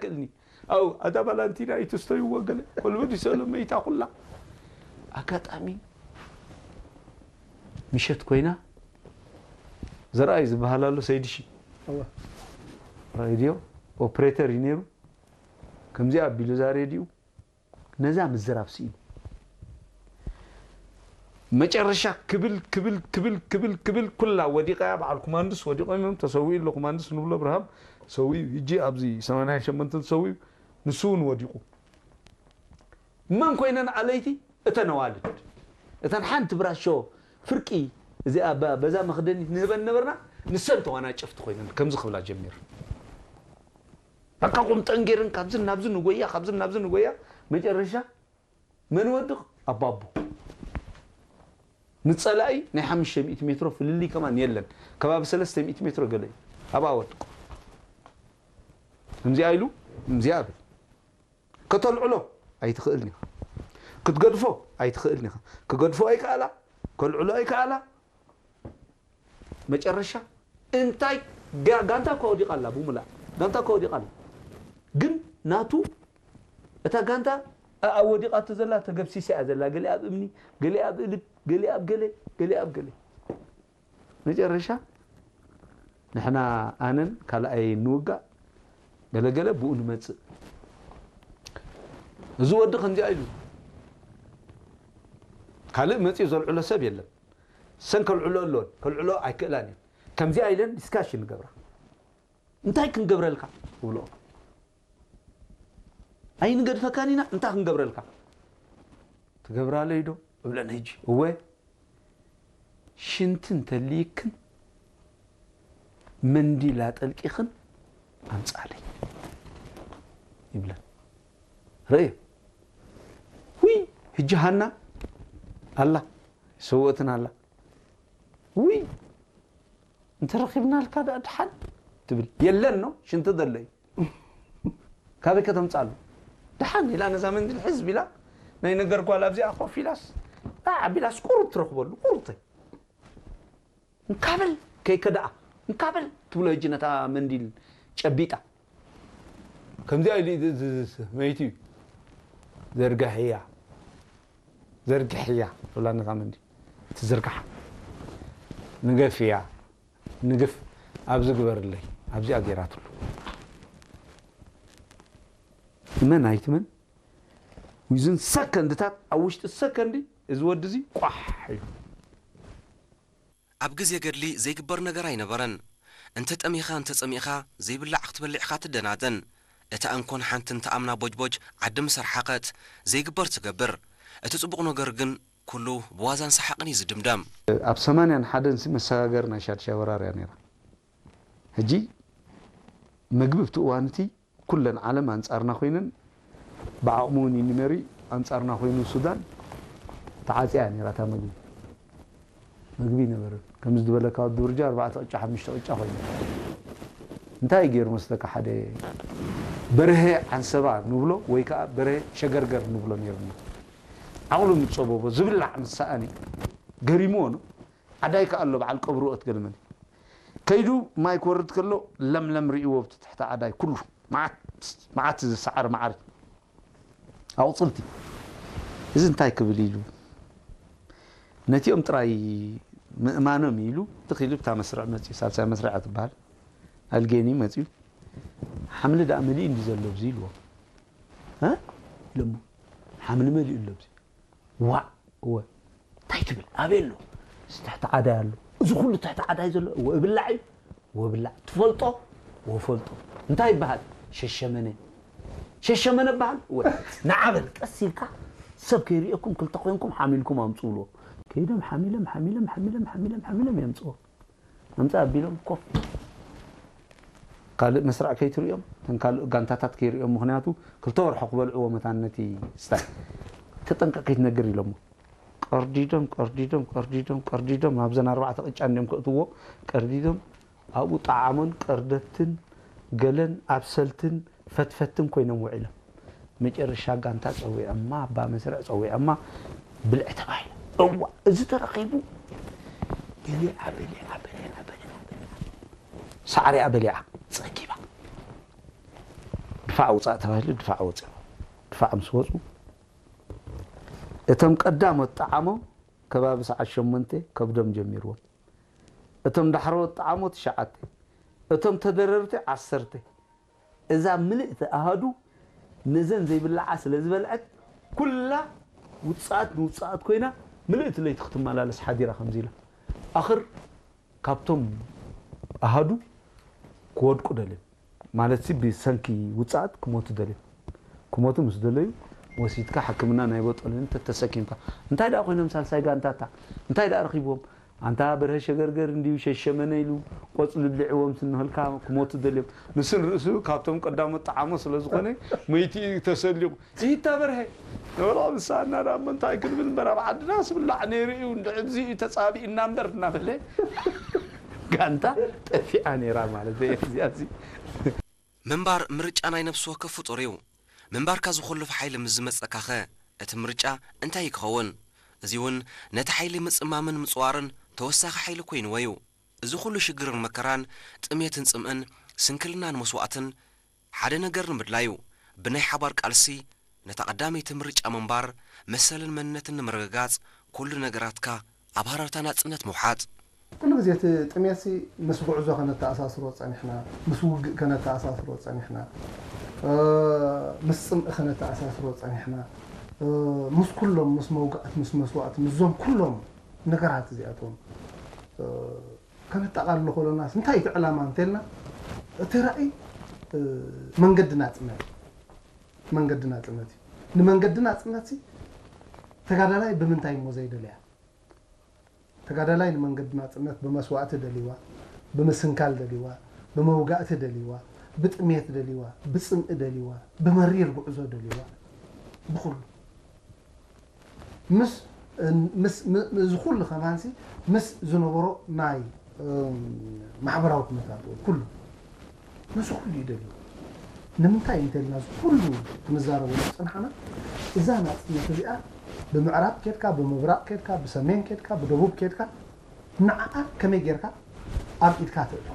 እልኒ። ኣው ኣታ ባላንቲና ኣይትስተይዎ ገለ ኮልበዲ ሰሎ መይታ ኩላ። ኣጋጣሚ ምሸት ኮይና፣ ዘርኣይ ዝበሃል ኣሎ ሰይድሺ፣ እወ። ሬድዮ ኦፕሬተር እዩ ነይሩ። ከምዚኣ ኣቢሉ እዛ ሬድዮ ነዛ ምዝራብ ስኢኑ፣ መጨረሻ ክብል ክብል ክብል ክብል ክብል ኩላ ወዲቓ እያ። በዓል ኩማንድስ ወዲቖም እዮም፣ ተሰዊኡ ኣሎ ኩማንድስ ንብሎ፣ ብርሃም ሰዊኡ። ሕጂ ኣብዚ ሰማንያ ሸሞንተ ተሰዊኡ፣ ንሱ እውን ወዲቑ። መን ኮይነን ኣለይቲ? እተን ኣዋልድ፣ እተን ሓንቲ ብራሾ ፍርቂ እዚኣ በ- በዛ መኽደኒት ንህበን ነበርና። ንሰን ተዋናጨፍቲ ኮይነን ከምዚ ክብላ ጀሚር፣ በቃ ቁምጠን ገይረን ካብዚ ናብዚ ንጎያ፣ ካብዚ ናብዚ ንጎያ። መጨረሻ መን ወድቕ? ኣባቦ። ንጸላኢ ናይ ሓሙሽተ ሚእቲ ሜትሮ ፍልልይ ከማን የለን። ከባቢ ሰለስተ ሚእቲ ሜትሮ ገለ እዩ። ኣብኣ ወድቕ። ከምዚኣ ኢሉ፣ ከምዚኣ ብል። ከተልዕሎ ኣይትኽእልን ኢኻ። ክትገድፎ ኣይትኽእልን ኢኻ። ክገድፎ ኣይከኣላ፣ ከልዕሎ ኣይከኣላ። መጨረሻ እንታይ ጋ- ጋንታ እኳ ወዲቓ ኣላ፣ ብሙላእ ጋንታ እኳ ወዲቓ ኣላ። ግን ናቱ እታ ጋንታ ኣ- ኣብ ወዲቓቶ ዘላ ተገብሲሳ እያ ዘላ። ገሊኣ ኣብ እምኒ፣ ገሊኣ ኣብ እልብ፣ ገሊኣ ኣብ ገለ፣ ገሊኣ ኣብ ገለ። መጨረሻ ንሕና ኣነን ካልኣይ ንውጋእ፣ ገለገለ ብኡ ንመጽእ። እዚ ወዲ ከምዚኣ ኢሉ ካልእ መጺኡ ዘልዕሎ ሰብ የለን። ሰን ከልዕሎ ኣለዎን ከልዕሎ ኣይክእላን እየን። ከምዚኣ ኢለን ዲስካሽን ንገብራ። እንታይ ክንገብረልካ? እብሎ። ኣይንገድፈካን ኢና፣ እንታይ ክንገብረልካ? ትገብራለይ ዶ? እብለን። ሕጂ እወ፣ ሽንቲ እንተልይክን መንዲል ኣጠልቂኽን ኣምጻለይ ይብለን። ርእዮ። ውይ፣ ሕጂ ሃና ኣላ፣ ሰወእትን ኣላ። ውይ፣ እንተረኺብናልካ ደኣ ድሓን ትብል። የለን ነው፣ ሽንቲ ዘሎ እዩ። ካበይ ከተምጻሉ? ድሓን ኢላ ነዛ መንዲል ሕዝብ ኢላ ናይ ነገር ጓል ኣብዚኣ ኮፍ ኢላስ፣ ኣ፣ ኣቢላስ ቁሩብ ትረኽበሉ፣ ቁሩብተይ። እንካበል ከይከደኣ፣ እንካበል ትብሎ። ሕጂ ነታ መንዲል ጨቢጣ። ከምዚኣ ኢሉ እዚ- እዚ- እዚ- መይቲ እዩ። ዘርጋሕያ፣ ዘርግሕያ ትብላ ነታ መንዲል። ትዝርጋሕ። ንገፍያ፣ ንግፍ፣ ኣብዚ ግበርለይ፣ ኣብዚኣ ገይራትሉ። እመን ኣይትመን፣ ዊዝን ሰከንድታት፣ ኣብ ውሽጢ ሰከንዲ፣ እዚ ወዲ እዚ ቋሕ ኢሉ። ኣብ ግዜ ገድሊ ዘይግበር ነገር ኣይነበረን። እንተ ጠሚኻ እንተ ጸሚእኻ ዘይብላዕ ክትበልዕ ኢኻ ትደናደን። እታ እንኮን ሓንቲ እንተ ኣምና ቦጅቦጅ ዓዲ ምስ ኣርሓቐት ዘይግበር ትገብር። እቲ ጽቡቕ ነገር ግን ኩሉ ብዋዛን ሰሓቕን እዩ ዝድምደም። ኣብ ሰማንያን ሓደን ሲ መሰጋገሪ ናይ ሻድሻይ ወራር እያ ነይራ። ሕጂ መግቢ ኣብቲ እዋን እቲ ኩለን ዓለም ኣንጻርና ኮይነን ብዓቕሚ እውን ይንመሪ ኣንጻርና ኮይኑ ሱዳን ተዓጽያ እያ ነይራ እታ መግቢ። መግቢ ይነበረ ከምዚ ዝበለካ ወዲ ብርጃ ኣርባዕተ ቅጫ ሓሙሽተ ቅጫ ኮይኑ እንታይ ገይሩ መስለካ ሓደ በርሀ ዓንሰባ ንብሎ ወይ ከዓ በርሀ ሸገርገር ንብሎ ነይሩና። ዓቕሉ ምጸበቦ ዝብላዕ ምስ ሰኣኒ ገሪምዎ ነው። ዓዳይ ከኣ ኣሎ በዓል ቀብሩ ኦት ገልመን ከይዱ ማይ ክወርድ ከሎ ለምለም ርእይዎ ብቲ ትሕቲ ዓዳይ ኩሉ መዓት መዓት ዝሰዓር መዓር ኣቑፅልቲ እዚ እንታይ ክብል ኢሉ ነቲኦም ጥራይ ምእማኖም ኢሉ ትኽ ኢሉ ብታ መስርዕ መፅዩ ሳልሳይ መስርዕ ትበሃል ኣልጌኒ መፅዩ ሓምሊ ደኣ መሊኡ እንዲ ዘሎ ብዚ ኢልዎ እ ኢሎሞ ሓምሊ መሊኡ ኣሎ ብዚ ዋእ እወ እንታይ ትብል ኣበይ ኣሎ እዚ ትሕቲ ዓዳይ ኣሎ እዚ ኩሉ ትሕቲ ዓዳይ ዘሎ እወ እብላዕ እዩ እወ ብላዕ ትፈልጦ እወ ፈልጦ እንታይ ይበሃል ሸሸመነ ሸሸመነ በሃል እወ ንዓ በል ቀስ ኢልካ ሰብ ከይርእየኩም ክልተ ኮይንኩም ሓሚልኩም ኣምፅኡ ብልዎ ከይዶም ሓሚሎም ሓሚሎም ሓሚሎም ሓሚሎም ሓሚሎም የምፅዎ ኣምፃ ኣቢሎም ኮፍ ካልእ መስርዕ ከይትርእዮም እተን ካልእ ጋንታታት ከይርእዮም ምክንያቱ ክልተ ወርሖ ክበልዕዎ መታን ነቲ ስታይ ተጠንቀቅ ከይትነግር ኢሎሞ ቀርዲዶም ቀርዲዶም ቀርዲዶም ቀርዲዶም ናብዘን ኣርባዕተ ቅጫ እንዲዮም ከእትዎ ቀርዲዶም ኣብኡ ጠዓሞን ቀርደትን ገለን ኣብሰልትን ፈትፈትን ኮይኖም ውዒሎም መጨረሻ ጋንታ ጸዊዖማ ኣባ መስርዕ ጸዊዖማ ብልዕ ተባሂላ እዋ እዚ ተረኺቡ በሊዓ በሊዓ በሊዓ በሊዓ በሊዓ ሳዕሪኣ በሊዓ ጸጊባ ድፋዕ ውፃእ ተባሂሉ ድፋዕ ወፂኦም። ድፋዕ ምስ ወፁ እቶም ቀዳሞት ጠዓሞም ከባቢ ሰዓት ሸሞንተ ከብዶም ጀሚርዎም። እቶም ዳሕረዎት ጠዓሞ ትሽዓተ፣ እቶም ተደረርቲ ዓሰርተ። እዛ ምልእቲ ኣሃዱ ነዘን ዘይብላዓ ስለ ዝበልዐት ኩላ ውፅኣት ንውፅኣት ኮይና ምልእቲ ለይቲ ክትመላለስ ሓዲራ ከምዚ ኢላ። ኣኽር ካብቶም ኣሃዱ ክወድቁ ደልዮም ማለት ሲ ብሰንኪ ውፅኣት ክሞቱ ደልዮም። ክሞቱ ምስ ደለዩ ወሲድካ ሕክምና ናይ ቦጦልን ተተሰኪምካ እንታይ ደኣ ኮይኖም ሳልሳይ ጋንታታ እንታይ ደኣ ረኺብዎም ኣንታ በርሀ ሸገርገር እንዲዩ ሸሸመነ ኢሉ ቆፅሊ ብሊዕዎም ስንህልካ ክሞቱ ደልዮም። ንሱ ንርእሱ ካብቶም ቀዳሞት ጠዓሞ ስለ ዝኾነ መይቲ እዩ ተሰሊቑ። ይታ በርሀ ንበሎ ምሳና ዳ እሞ እንታይ ክንብል እምበር ኣብ ዓድና ስብላዕ ነይሩ እዩ እንድሕዚ እዩ ተፃቢእና እምበር እናበለ ጋንታ ጠፊኣ ነይራ ማለት እየ እዚኣ እዚ ምንባር ምርጫ ናይ ነፍሲ ወከፍ ፍጡር እዩ። ምንባርካ ዝኹልፍ ሓይሊ ምስ ዝመጸካኸ እቲ ምርጫ እንታይ እዩ ክኸውን? እዚ እውን ነቲ ሓይሊ ምጽማምን ምጽዋርን ተወሳኺ ሓይሊ ኮይንዎ እዩ። እዚ ኩሉ ሽግርን መከራን፣ ጥሜትን ጽምእን፣ ስንክልናን መስዋእትን ሓደ ነገር ንምድላዩ ብናይ ሓባር ቃልሲ ነታ ቀዳመይቲ ምርጫ ምንባር መሰልን መንነትን ንምርግጋጽ ኩሉ ነገራትካ ኣብ ሃረርታ ናጽነት ምውሓጥ። ኩሉ ግዜ እቲ ጥሜትሲ ምስ ጉዕዞ ከነተኣሳስሮ ጸኒሕና፣ ምስ ውግእ ከነተኣሳስሮ ጸኒሕና፣ ምስ ጽምኢ ከነተኣሳስሮ ጸኒሕና፣ ምስ ኩሎም ምስ መውጋእት ምስ መስዋእቲ ምስዞም ኩሎም ነገራት እዚኣቶም ከነጠቓልሎ ከሎናስ እንታይ እቲ ዕላማ እንተልና እቲ ራእይ መንገዲ ናጽነት መንገዲ ናጽነት እዩ። ንመንገዲ ናጽነትሲ ተጋዳላይ ብምንታይ እሞ ዘይደልያ? ተጋዳላይ ንመንገዲ ናጽነት ብመስዋእቲ ደልይዋ፣ ብምስንካል ደልይዋ፣ ብመውጋእቲ ደልይዋ፣ ብጥሜት ደልይዋ፣ ብጽምኢ ደልይዋ፣ ብመሪር ጉዕዞ ደልይዋ፣ ብኹሉ ምስ ምስ ም- እዚ ኩሉ ከማንሲ ምስ ዝነበሮ ናይ እም፣ ማሕበራዊ ኩነታት እውን ኩሉ ነዚ ኩሉ እዩ ደልዩ። ንምንታይ እንተልና እዚ ኩሉ ክንዛረበሉ ዝፀናሕና እዛ ናፅነት እዚኣ ብምዕራብ ኬድካ ብምብራቕ ኬድካ ብሰሜን ኬድካ ብደቡብ ኬድካ ንዓኣ ከመይ ጌርካ ኣብ ኢድካ ተእቶ